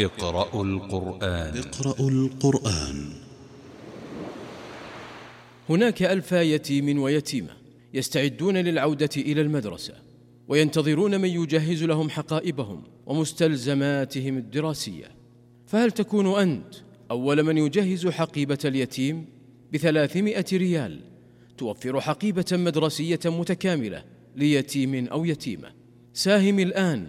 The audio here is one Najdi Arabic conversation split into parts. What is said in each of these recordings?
اقرأوا القرآن. اقرأوا القرآن. هناك 1000 يتيم ويتيمة يستعدون للعودة إلى المدرسة، وينتظرون من يجهز لهم حقائبهم ومستلزماتهم الدراسية. فهل تكون أنت أول من يجهز حقيبة اليتيم ب300 ريال توفر حقيبة مدرسية متكاملة ليتيم أو يتيمة؟ ساهم الآن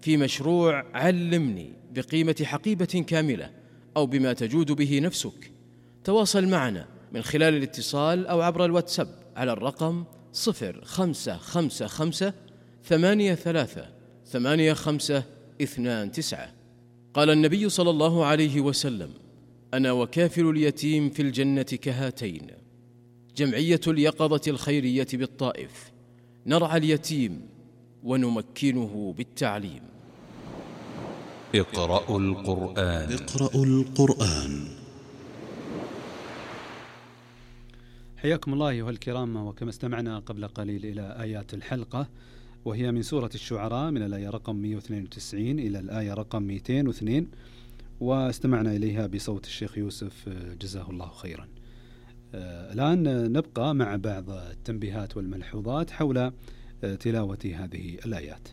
في مشروع علمني بقيمة حقيبة كاملة أو بما تجود به نفسك. تواصل معنا من خلال الاتصال أو عبر الواتساب على الرقم 0555 83 85 29. قال النبي صلى الله عليه وسلم: أنا وكافل اليتيم في الجنة كهاتين. جمعية اليقظة الخيرية بالطائف، نرعى اليتيم ونمكنه بالتعليم. اقرأوا القرآن. اقرأوا القرآن. حياكم الله أيها الكرام، وكما استمعنا قبل قليل إلى آيات الحلقة، وهي من سورة الشعراء من الآية رقم 192 إلى الآية رقم 202، واستمعنا إليها بصوت الشيخ يوسف جزاه الله خيرا. الآن نبقى مع بعض التنبيهات والملحوظات حول تلاوة هذه الآيات.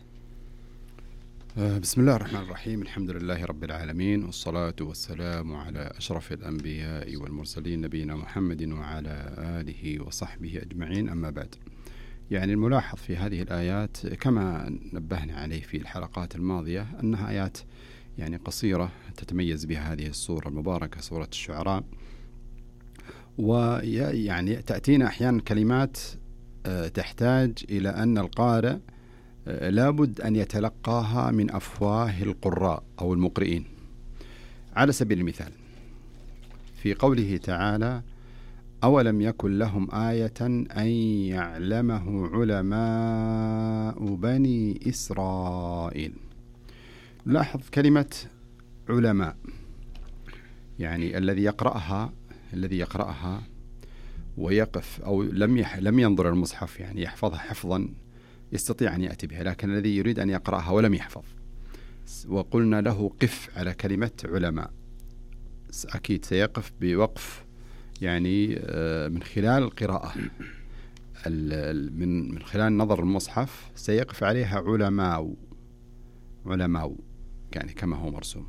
بسم الله الرحمن الرحيم. الحمد لله رب العالمين، والصلاة والسلام على أشرف الأنبياء والمرسلين نبينا محمد وعلى آله وصحبه أجمعين. أما بعد، يعني الملاحظ في هذه الآيات كما نبهنا عليه في الحلقات الماضية أنها آيات يعني قصيرة تتميز بها هذه السورة المباركة سورة الشعراء، ويعني تأتينا أحيانا كلمات تحتاج إلى أن القارئ لابد أن يتلقاها من أفواه القراء أو المقرئين. على سبيل المثال في قوله تعالى: أولم يكن لهم آية أن يعلمه علماء بني إسرائيل. لاحظ كلمة علماء، يعني الذي يقرأها ويقف أو لم ينظر المصحف يعني يحفظها حفظا يستطيع أن يأتي بها، لكن الذي يريد أن يقرأها ولم يحفظ وقلنا له قف على كلمة علماء، أكيد سيقف بوقف يعني من خلال القراءة، من خلال نظر المصحف سيقف عليها علماء يعني كما هو مرسوم.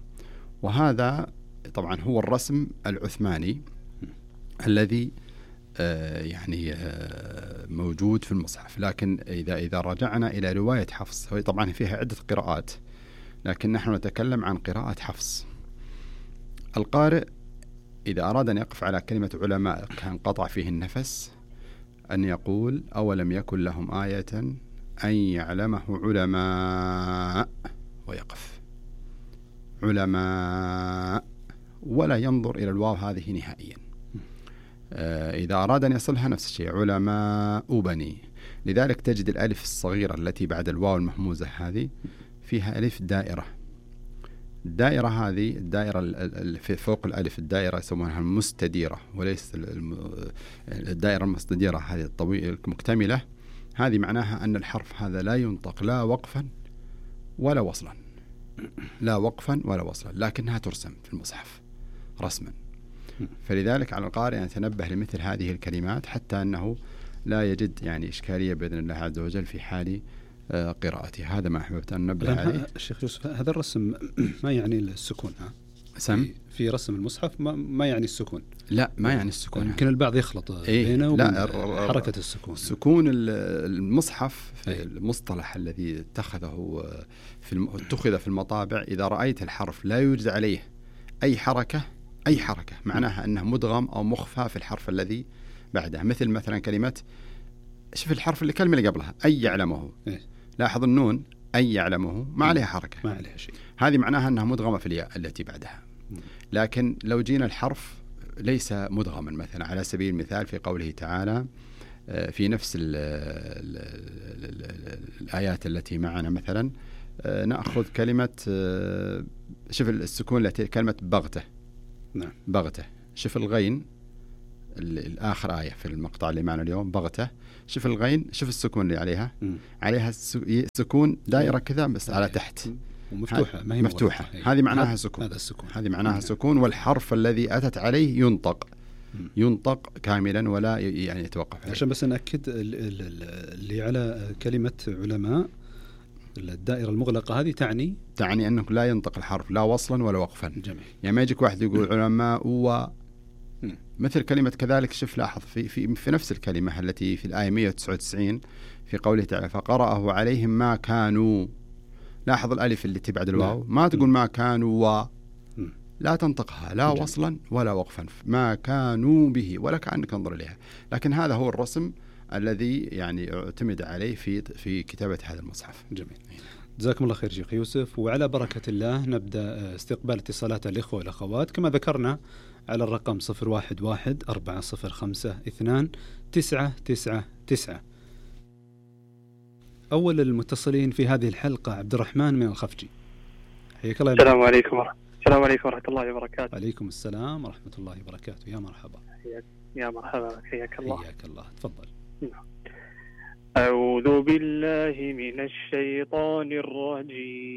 وهذا طبعا هو الرسم العثماني الذي يعني موجود في المصحف. لكن إذا رجعنا إلى رواية حفص، طبعا فيها عدة قراءات لكن نحن نتكلم عن قراءة حفص. القارئ إذا أراد أن يقف على كلمة علماء كان قطع فيه النفس أن يقول: أولم يكن لهم آية أن يعلمه علماء، ويقف علماء ولا ينظر إلى الواو هذه نهائيا. إذا أراد أن يصلها نفس الشيء علماء بني. لذلك تجد الألف الصغيرة التي بعد الواو المهموزة هذه فيها ألف دائرة. الدائرة هذه الدائرة في فوق الألف الدائرة يسمونها المستديرة، وليس الدائرة المستديرة هذه الطويلة المكتملة. هذه معناها أن الحرف هذا لا ينطق لا وقفا ولا وصلا، لا وقفا ولا وصلا، لكنها ترسم في المصحف رسما. فلذلك على القارئ أن يتنبه لمثل هذه الكلمات حتى أنه لا يجد يعني إشكالية بإذن الله عز وجل في حال قراءته. هذا ما أحببت أن ننبه عليه. الشيخ يوسف، هذا الرسم ما يعني السكون في رسم المصحف ما يعني السكون؟ لا، ما يعني السكون. يمكن البعض يخلط بينه وبين حركة السكون. سكون المصحف في المصطلح الذي اتخذ في المطابع، إذا رأيت الحرف لا يوجد عليه أي حركة معناها أنه مدغم أو مخفى في الحرف الذي بعده. مثلا كلمة، شوف الحرف الكلمة اللي قبلها أي يعلمه، لاحظ النون أي يعلمه ما عليها حركة، ما عليها شيء، هذه معناها أنها مدغمة في الياء التي بعدها. لكن لو جينا الحرف ليس مدغما، مثلا على سبيل المثال في قوله تعالى في نفس الآيات التي معنا، مثلا نأخذ كلمة، شوف السكون التي كلمة بغته. نعم، بغته. شوف الغين الآخر آية في المقطع اللي معنا اليوم، بغته. شوف الغين، شوف السكون اللي عليها، عليها سكون دائرة كذا بس على تحت، ومفتوحة ما هي مفتوحة، هذه معناها سكون. هذا السكون، هذه معناها سكون، والحرف الذي أتت عليه ينطق كاملا ولا يعني يتوقف عليه. عشان بس نأكد اللي على كلمة علماء، الدائرة المغلقة هذه تعني أنه لا ينطق الحرف لا وصلا ولا وقفا. جميل. يعني ما يجيك واحد يقول علماء مثل كلمة كذلك. شوف لاحظ في نفس الكلمة التي في الآية 199 في قوله تعالى فقرأه عليهم ما كانوا. لاحظ الألف اللي تبعد الواو، ما تقول ما كانوا لا تنطقها لا وصلا ولا وقفا، ما كانوا به ولا كأنك انظر إليها. لكن هذا هو الرسم الذي يعني اعتمد عليه في كتابة هذا المصحف. جميل، جزاكم الله خير شيخ يوسف. وعلى بركة الله نبدأ استقبال اتصالات الإخوة والأخوات كما ذكرنا على الرقم 0114052999. أول المتصلين في هذه الحلقة عبد الرحمن من الخفجي. حياك الله. السلام عليكم ورحمة الله وبركاته. عليكم السلام ورحمة الله وبركاته. يا مرحبا. يا مرحبا، حياك الله. حياك الله، تفضل. أعوذ بالله من الشيطان الرجيم.